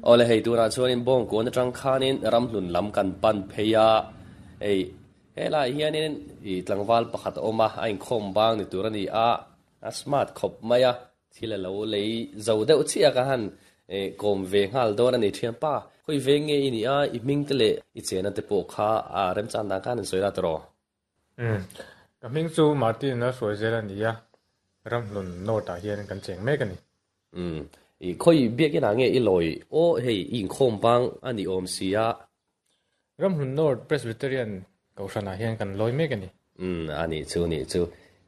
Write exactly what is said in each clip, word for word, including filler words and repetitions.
Awle hei tunah chuanin Bawngkawn atang khanin Ramhlun lam kan pan phei a, hei helaiah hianin ih tlangval pakhat a awm a, a inkhawm bang ni tur a ni a, a smart khawp mai a, thil a lo lei zo deuh chiah ka han eh kawm ve nghal dawn a ni thianpa. Khawi veng nge i nih a, i hming te leh i chena te pawh kha a remchan dan khan an sawi la tawh. Umm ka hming chu Martin a hruai zel a ni a, Ramhlun North ah hian kan cheng mek a ni. Umm i khawi biakin ah nge i lawi aw hei i inkhawm bang a ni awm si a. Ramhlun North Presbyterian Kohhran ah hian kan lawi mek a ni. Umm a nih chu nih chu.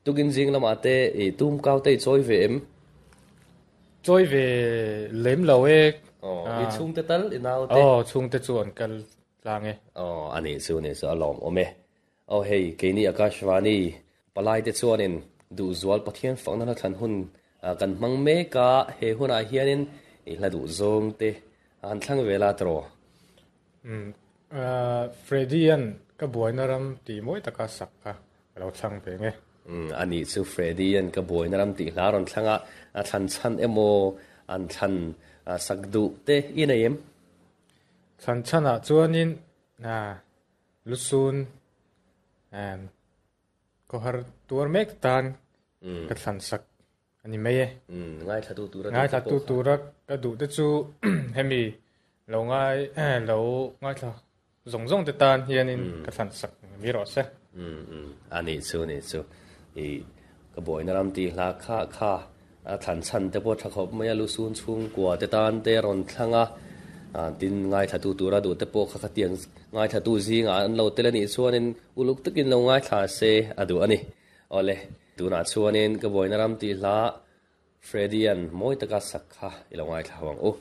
Tukin zing lamah te i tum kau te i chawi ve em? Chawi ve lem lo e. Aw i chhungte tal i nau te? Aw chhungte chu an kal tlang e. Aw a nih chu nih chu a lawm awm e. Aw hei keini Akashvani palai te chuanin duhzual Pathian fakna hla thlan hun kan hmang mek a, he hunah hianin i hla duh zawng te an thlang ve la tawh. Umm Freddy-a'n ka buaina ram tih mawi taka sak kha ka lo thlang ve nge. Umm a nih chu Freddy-a'n ka buaina ram tih hla rawn thlang a, a thlan chhan emaw an thlan sak duh te i nei em? Thlan chhanah chuanin lusun khawhar tuar mek tan ka thlan sak a ni mai e. Ngaithla tu tura Ngaithla tu tura ka duh te chu hemi lo ngai lo ngaithla zawng zawng te tan hianin ka thlan sak mi rawh se. A nih chu nih chu i ka buaina ram tih hla kha kha a thlan chhan te pawh tha khawp mai a, lusun chhungkua te tan te rawn thlang a, tin ngaithla tu tura duh te pawh kha khatiang ngaithla tu zingah an lo tel a nih chuanin uluk takin lo ngaithla se a duh a ni. Awle tunah chuanin ka buaina ram tih hla Freddy-a'n mawi taka sak kha i lo ngaithla ho ang u.